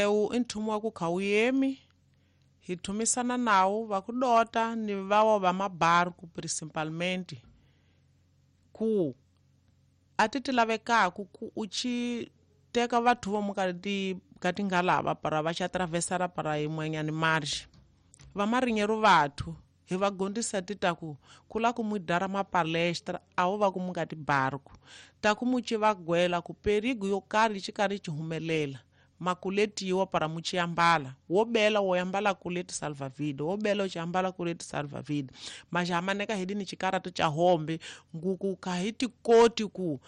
Ewu i nthumu wa ku kha wu yemi hi thumisana nawu va ku dota ni vawa va mabarku principalmente ku a ti ti lavekaku ku u ci teka vathu vomu ka ti ka tingalava para va xa atravesara para yin'wanyani marge vamarinyeru vathu hi va gondisa ti ta ku ku la ku mu dara mapalestra a wo va ku mu nga ti barku ta ku mu ci va gwela ku perigo yo karhi yi ci karhi ci humelela makuletiwa para mu ci ambala wo bela wo ambala kuleti salvavida wo bela u ci ambala kuleti salvavida mas hamaneka hidi ni cikarato ca hombe nguku ka hi ti koti ku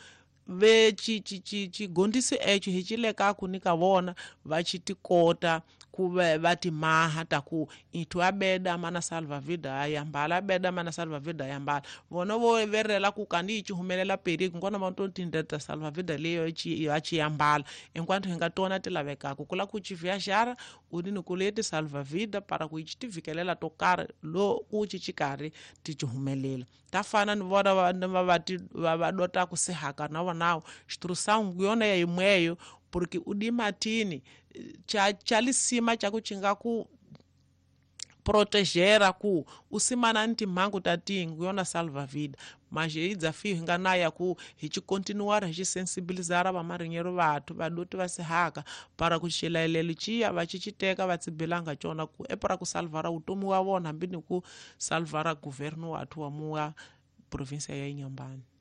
ve ci ci ci cigondisi eco hi ci lekaku ni ka vona va ci ti kota ku ve va ti maha ta ku ithu a beda mana salvavida a yambala a beda mana salvavida a yambala vona vo verela ku kandi yi ci humelela perigo nkona va to tindlela ta salvavida leyo ci va ci yambala enquanto hi nga tona ti lavekaku ku la ku ci viajara u ni ku leti salvavida para ku yi ci ti vikelela to karhi lo ku ci ci karhi ti ci humelela ta fana ni vona va va ti va va dotaku sehaka na vonawo xiturusangu yona ya yimweyo porque u di matini cha cha lisima cha ku ci nga ku protegera ku u simana ni timhangu ta tingu yona salvavida mas hi dzafiyo hi nga na ya ku hi ci continuara hi ci sensibilizara vamarinyeru vathu vadoti va sihaka para ku xilayelelo ciya va ci ci teka va tsibelanga cona ku e para ku salvara vutomi wa vona hambi ni ku salvara governo wathu wa muwa provinsia ya Inhambane.